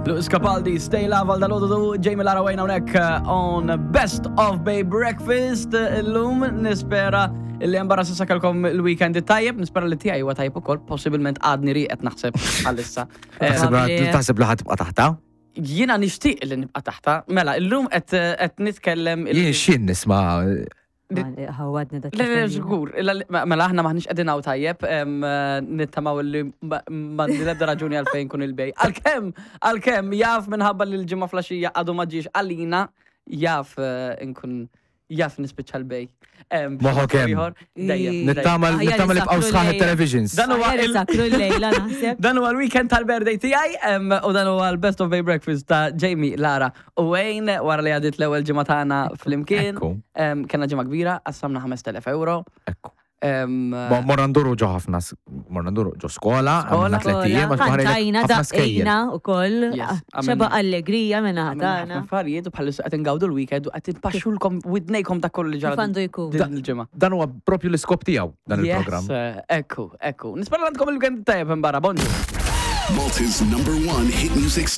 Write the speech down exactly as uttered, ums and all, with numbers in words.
Lewis Capaldi, Stay Love għal dal-għodu, Jamie, Lara, Wayne hawnhekk uh, on Best of Bay Breakfast. Illum nispera li hemm barra s'issa kellkom il-weekend tajjeb, nispera li tiegħi huwa tajjeb ukoll, possibilment għadni rieqed naħseb għalissa. Eh, Taħseb li- Taħseb li ħa tibqa' taħtha? Jiena nixtieq li nibqa' taħtha. Mela, illum qed qed nitkellem Jien xin nisma' Ħawadni dak. Le, le, żgur, illa li- mela aħna maħniex qegħdin hawn tajjeb, em, eh, nittamaw li ma m'għandi l-ebda raġuni għalfejn kun il-bej. Għalkemm, għalkemm jaf minħabba li l-ġimgħa filgħaxija għadu ma ġiex għalina, jaf eh, nkun jaf nispiċċa l-bej. Em, Moħħok hemm. ieħor, Dejjem. dejjem. Nittama nittama li bqgħu sħaħ il-televisions. Dan huwa il- Sakru l-lejla naħseb. Dan huwa l-weekend tal-birthday tiegħi em, u dan huwa l-Best of Bay Breakfast ta' Jamie, Lara u Wayne wara li għadit l-ewwel ġimgħa tagħna flimkien. Ekku. Em, Kellna ġimgħa kbira, qassamna ħamest elef euro. Ekku. Em, Mo- Morna nduru ġo ħafna, s- morna nduru ġo skola, Skola. għamilna tlett ijiem, għax baħar Kantajna, ħafna skejjel. daqqejna u koll. Yes, Xeba għamilna- allegria minna għamilna ħafna ħatana. affarijiet u bħalissa qed ingawdu l-weekend u qed inpaxxulkom widnejkom ta' kollu li ġara Kif għandu jkun. din il-ġimgħa. Dan huwa propju l-iskop tiegħu dan il-programm. Yes, eh, ekku, ekku. Nispera li għandkom il-weekend tajjeb barra, bonġu. Malta's number one hit music